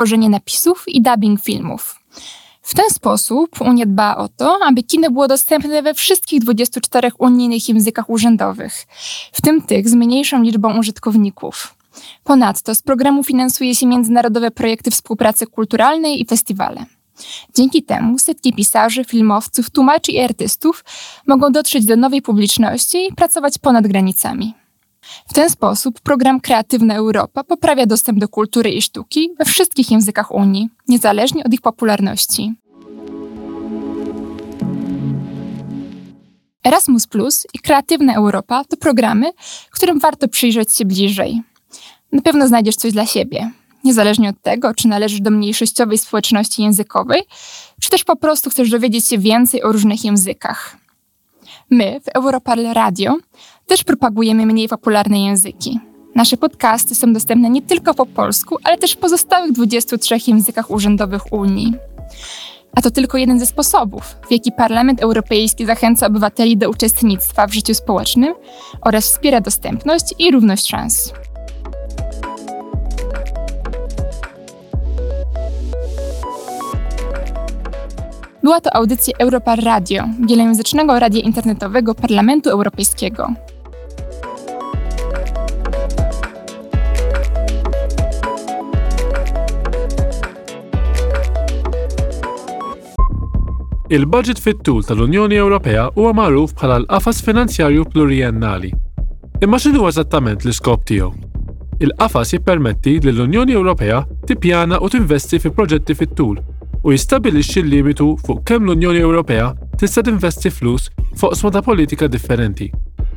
tworzenie napisów i dubbing filmów. W ten sposób Unia dba o to, aby kino było dostępne we wszystkich 24 unijnych językach urzędowych, w tym tych z mniejszą liczbą użytkowników. Ponadto z programu finansuje się międzynarodowe projekty współpracy kulturalnej i festiwale. Dzięki temu setki pisarzy, filmowców, tłumaczy i artystów mogą dotrzeć do nowej publiczności i pracować ponad granicami. W ten sposób program Kreatywna Europa poprawia dostęp do kultury i sztuki we wszystkich językach Unii, niezależnie od ich popularności. Erasmus Plus i Kreatywna Europa to programy, którym warto przyjrzeć się bliżej. Na pewno znajdziesz coś dla siebie, niezależnie od tego, czy należysz do mniejszościowej społeczności językowej, czy też po prostu chcesz dowiedzieć się więcej o różnych językach. My w Europarl Radio też propagujemy mniej popularne języki. Nasze podcasty są dostępne nie tylko po polsku, ale też w pozostałych 23 językach urzędowych Unii. A to tylko jeden ze sposobów, w jaki Parlament Europejski zachęca obywateli do uczestnictwa w życiu społecznym oraz wspiera dostępność i równość szans. Była to audycja Europar Radio, wielojęzycznego radia internetowego Parlamentu Europejskiego. Il-baġit fit-tul tal-Unjoni Ewropea huwa magħruf bħala l-Qafas Finanzjarju Pluriennali. Imma x'inhu eżattament l-iskop tiegħu? Il-qafas jippermetti lill-Unjoni Ewropea tippjana u tinvesti fi proġetti fit-tul u jistabbilixxi l-limitu fuq kemm l-Unjoni Ewropea tista' tinvesti flus f'oqsma ta' politika differenti.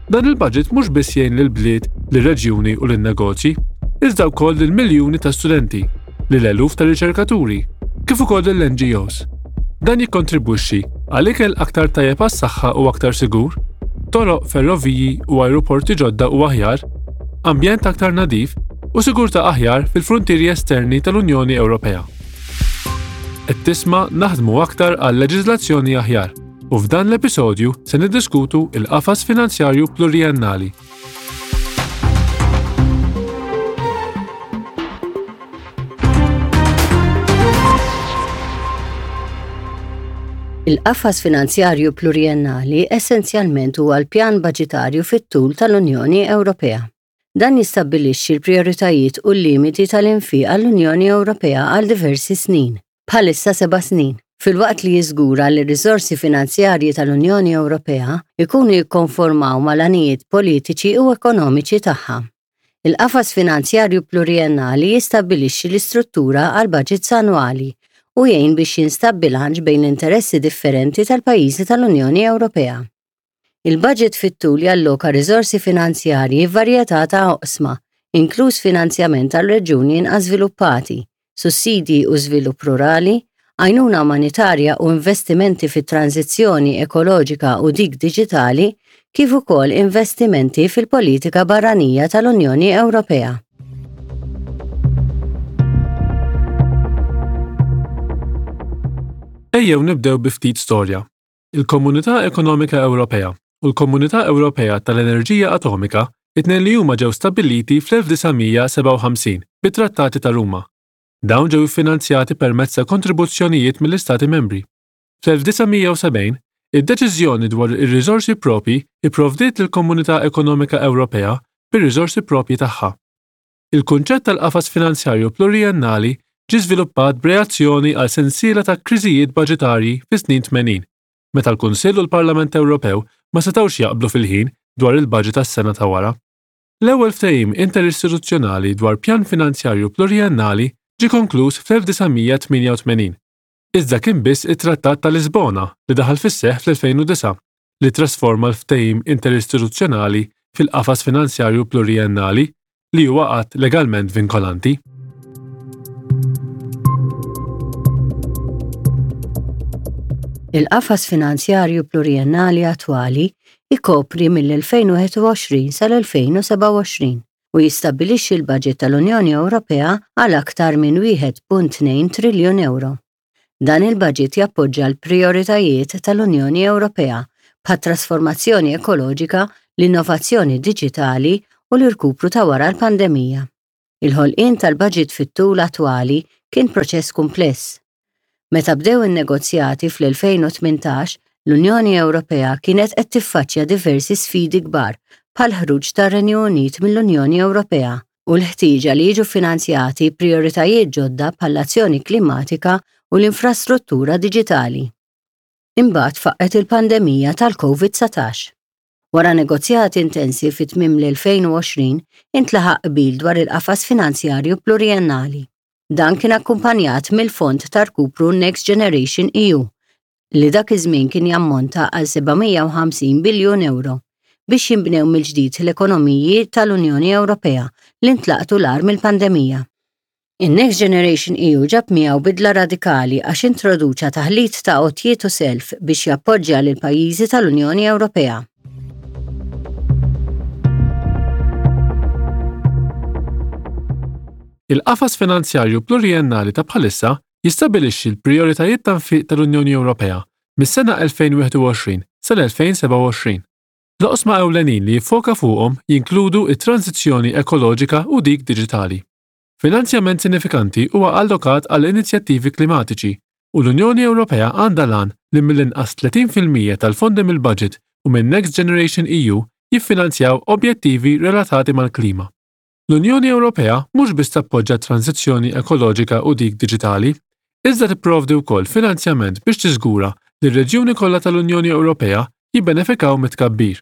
Dan il-baġit mhux biss jgħin lill-bliet, lir-reġjuni u lin-negozji, iżda wkoll lil miljuni ta' studenti, lil eluf ta' riċerkaturi, kif ukoll lill-NGOs. Dan jikkontribwixxi għal ikel aktar tajjeb għas-saħħa u aktar sigur, toroq, ferroviji u ajruporti ġodda u aħjar, ambjent aktar nadif u sigurtà aħjar fil-fruntieri esterni tal-Unjoni Ewropea. Qed tisma' Naħdmu Aktar għal Leġiżlazzjoni Aħjar u f'dan l-episodju se niddiskutu il-qafas finanzjarju pluriennali. Il-qafas finanzjarju pluriennali essenzjalment huwa l-pjan baġitarju fit-tul tal-Unjoni Ewropea. Dan jistabbilixxi l-prijoritajiet u l-limiti tal-infiq għall-Unjoni Ewropea għal diversi snin, bħalissa seba' snin, filwaqt li jiżgura li r-riżorsi finanzjarji tal-Unjoni Ewropea jkunu jikkonformaw mal-għanijiet politiċi u ekonomiċi tagħha. Il-qafas finanzjarju pluriennali jistabbilixxi l-istruttura għall-baġits annwali u jgħin biex jinstab bilanċ bejn l-interessi differenti tal-pajjiżi tal-Unjoni Ewropea. Il-baġit fit-tul jalloka riżorsi finanzjarji f'varjetà ta' oqsma, inkluż finanzjament għal reġjuni inqas żviluppati, sussidji u żvilupp rurali, għajnuna umanitarja u investimenti fit-tranżizzjoni ekoloġika u dik diġitali, kif ukoll investimenti fil-politika barranija tal-Unjoni Ewropea. Ejjew nibdew bi ftit storja. Il-Komunità Ekonomika Ewropea u l-Komunità Ewropea tal-Enerġija Atomika it-tnejn li huma ġew stabbiliti fl-1957 bit-Trattati ta' Ruma. Dawn ġew iffinanzjati permezz ta' kontribuzzjonijiet mill-Istati Membri. Fl-1970, id-deċiżjoni dwar ir-riżorsi proprji pprovdiet lill-Komunità Ekonomika Ewropea bir-riżorsi proprji tagħha. Il-kunċett tal-qafas finanzjarju pluriennali ġie żviluppat b'reazzjoni għal sensiela ta' kriżijiet baġitarji fis-snin 80, meta l-Kunsill u l-Parlament Ewropew ma setgħux jaqblu fil-ħin dwar il-baġit għas-sena ta' wara. L-ewwel ftehim interistituzzjonali dwar pjan finanzjarju pluriennali ġie konkluż fl-1988, iżda kien biss it-Trattat ta' Lisbona li daħal fis-seħħ fl-2009 li ttrasforma l-ftehim interistituzzjonali fil-qafas finanzjarju pluriennali li huwa att legalment vinkolanti. Il-qafas finanzjarju pluriennali attwali jkopri mill-2021 sal-2027 u jistabbilixxi l-baġit tal-Unjoni Ewropea għal aktar minn 1.2 triljun ewro. Dan il-baġit jappoġġa l-prijoritajiet tal-Unjoni Ewropea bħat-trasformazzjoni ekoloġika, l-innovazzjoni diġitali u l-irkupru ta' wara l-pandemija. Il-ħolqien tal-baġit fit-tul attwali kien proċess kumpless. Meta bdew in-negozjati fl-2018, l-Unjoni Ewropea kienet qed tiffaċċja diversi sfidi kbar bħall-ħruġ tar-Renju Unit mill-Unjoni Ewropea u l-ħtieġa li jiġu ffinanzjati prijoritajiet ġodda bħall-azzjoni klimatika u l-infrastruttura diġitali. Imbagħad faqqgħet il-pandemija tal-Covid-19. Wara negozjati intensi fi tmiem l-2020, intlaħaq qbil dwar il-qafas finanzjarju pluriennali. Dan kien akkumpanjat mill-Fond ta' Rkupru Next Generation EU, li dak iż-żmien kien jammonta għal 750 biljun ewro, biex jinbnew mill-ġdid l-ekonomiji tal-Unjoni Ewropea li ntlaqtu l-agħar mill-pandemija. In-Next Generation EU ġab miegħu bidla radikali għax introduċa taħlit ta' għotjiet u self biex jappoġġja lill-pajjiżi tal-Unjoni Ewropea. Il-qafas finanzjarju pluriennali ta' bħalissa jistabbilixxi l-prijoritajiet ta' nfiq tal-Unjoni Ewropea mis-sena 2021 sal-2027. L-oqsma ewlenin li jiffoka fuqhom jinkludu t-tranżizzjoni ekoloġika u dik diġitali. Finanzjament sinifikanti huwa allokat għal inizjattivi klimatiċi u l-Unjoni Ewropea għandha l-għan li mill-inqas 30% tal-fondi mill-baġit u minn Next Generation EU jiffinanzjaw objettivi relatati mal-klima. L-Unjoni Ewropea mhux biss tappoġġa t-tranżizzjoni ekoloġika u dik diġitali, iżda tipprovdi wkoll finanzjament biex tiżgura li r-reġjuni kollha tal-Unjoni Ewropea jibbenefikaw mit-tkabbir.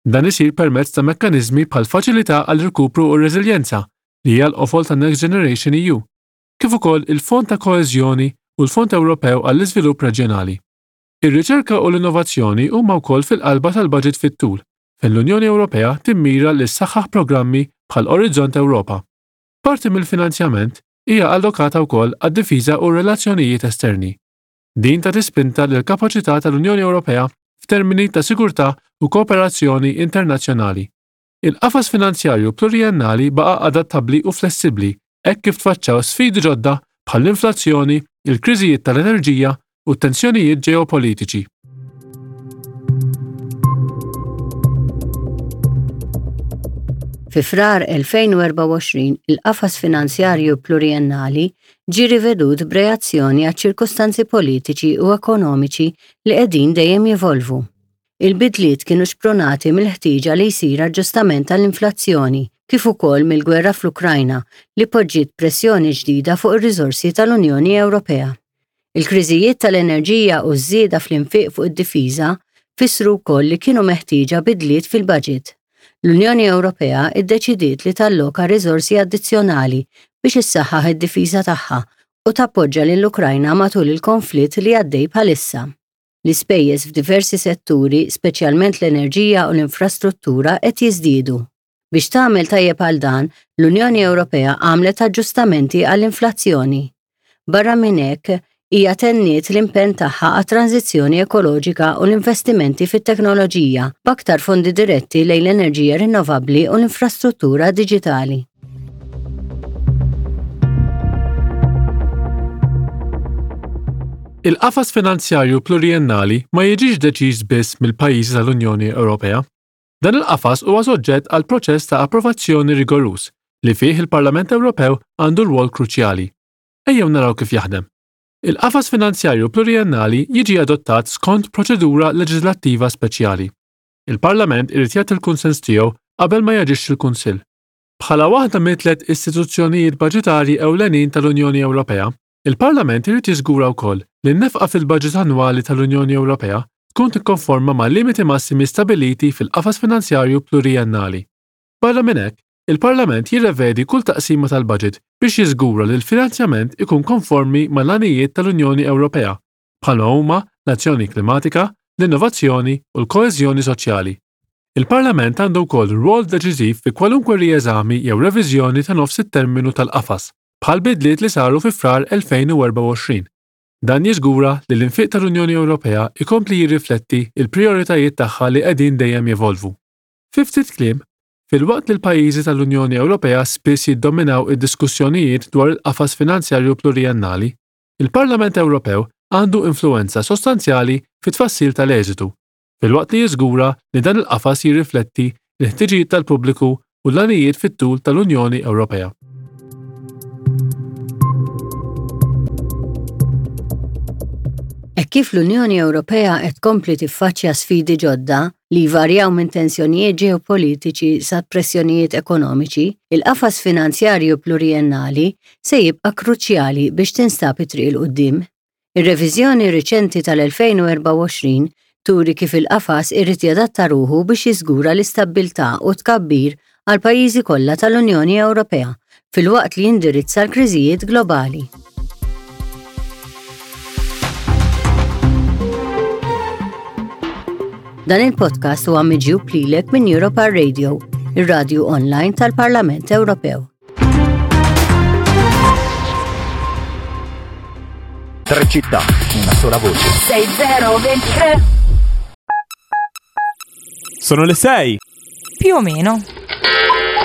Dan isir permezz ta' mekkaniżmi bħall-Faċilità għall-Irkupru u r-Reżiljenza, li hija l-qofol ta' Next Generation EU, kif ukoll il-Fond ta' Koeżjoni u l-Fond Ewropew għall-Iżvilupp Reġjonali. Ir-riċerka u l-innovazzjoni huma wkoll fil-qalba tal-baġit fit-tul, fejn l-Unjoni Ewropea timmira li ssaħħaħ programmi bħal Orizzont Ewropa. Parti mill-finanzjament hija allokata wkoll għad-difiża u r-relazzjonijiet esterni. Din tagħti spinta lill-kapaċità tal-Unjoni Ewropea f'termini ta' sigurtà u kooperazzjoni internazzjonali. Il-qafas finanzjarju pluriennali baqa' adattabbli u flessibbli hekk kif tfaċċaw sfidi ġodda bħall-inflazzjoni, il-kriżijiet tal-enerġija u t-tensjonijiet ġeopolitiċi. Fi Frar 2024, il-qafas finanzjarju pluriennali ġie rivedut b'reazzjoni għaċ-ċirkustanzi politiċi u ekonomiċi li qegħdin dejjem jevolvu. Il-bidliet kienu xprunati mill-ħtieġa li jsir aġġustament għall-inflazzjoni kif ukoll mill-gwerra fl-Ukrajna li poġġiet pressjoni ġdida fuq ir-riżorsi tal-Unjoni Ewropea. Il-kriżijiet tal-enerġija u ż-żieda fl-infiq fuq id-difiża fissru wkoll li kienu meħtieġa bidliet fil-baġit. L-Unjoni Ewropea ddeċidiet li talloka riżorsi addizzjonali biex issaħħaħ id-difiża tagħha u tappoġġa lill-Ukrajna matul il-konflitt li għaddej bħalissa. L-ispejjeż f'diversi setturi, speċjalment l-enerġija u l-infrastruttura, qed jiżdiedu. Biex tagħmel tajjeb għal dan, l-Unjoni Ewropea għamlet aġġustamenti għall-inflazzjoni. Barra minn hekk, hija tenniet l-impenn tagħha għat-tranżizzjoni ekoloġika u l-investimenti fit-teknoloġija, b'aktar fondi diretti lejn l-enerġija rinnovabbli u l-infrastruttura diġitali. Il-qafas finanzjarju pluriennali ma jiġix deċiż biss mill-pajjiżi tal-Unjoni Ewropea. Dan il-qafas huwa soġġett għal proċess ta' approvazzjoni rigoruż li fih il-Parlament Ewropew għandu rwol kruċjali. Ejjew naraw kif jaħdem. Il-qafas finanzjarju pluriennali jiġi adottat skont proċedura leġiżlattiva speċjali. Il-Parlament irid jagħti l-kunsens tiegħu qabel ma jaġixxi l-Kunsill. Bħala waħda mit-tliet istituzzjonijiet baġitarji ewlenin tal-Unjoni Ewropea, il-Parlament irid jiżgura wkoll li n-nefqa fil-baġit annwali tal-Unjoni Ewropea tkun tikkonforma mal-limiti massimi stabbiliti fil-qafas finanzjarju pluriennali. Barra minn hekk, il-Parlament jirrevedi kull taqsima tal-baġit biex jiżgura li l-finanzjament ikun konformi mal-għanijiet tal-Unjoni Ewropea, bħalma huma l-azzjoni klimatika, l-innovazzjoni u l-koeżjoni soċjali. Il-Parlament għandu wkoll rwol deċiżiv fi kwalunkwe rieżami jew reviżjoni ta' nofs it-terminu tal-qafas, bħall-bidliet li saru fi Frar 2024. Dan jiżgura li l-infiq tal-Unjoni Ewropea jkompli jirrifletti l-prijoritajiet tagħha li qegħdin dejjem jevolvu. Fi ftit kliem, filwaqt li l-pajjiżi tal-Unjoni Ewropea spiss jiddominaw id-diskussjonijiet dwar il-qafas finanzjarju pluriennali, il-Parlament Ewropew għandu influwenza sostanzjali fit-tfassil tal-eżitu, filwaqt li jiżgura li dan il-qafas jirrifletti l-ħtiġijiet tal-pubbliku u l-għanijiet fit-tul tal-Unjoni Ewropea. Hekk kif l-Unjoni Ewropea qed tkompli tiffaċċja sfidi ġodda, li jvarjaw minn tensjonijiet ġeopolitiċi sa pressjonijiet ekonomiċi, il-qafas finanzjarju pluriennali se jibqa' kruċjali biex tinstab it-triq 'il quddiem. Ir-reviżjoni riċenti tal-2024 turi kif il-qafas irid jadatta ruħu biex jiżgura l-istabbiltà u t-tkabbir għall-pajjiżi kollha tal-Unjoni Ewropea filwaqt li jindirizza l-kriżijiet globali. Dan il-podcast huwa miġjub lilek minn Europa Radio, ir-radju online tal-Parlament Ewropew. Tre città, una sola voce. 6023 Sono le 6. Più o meno.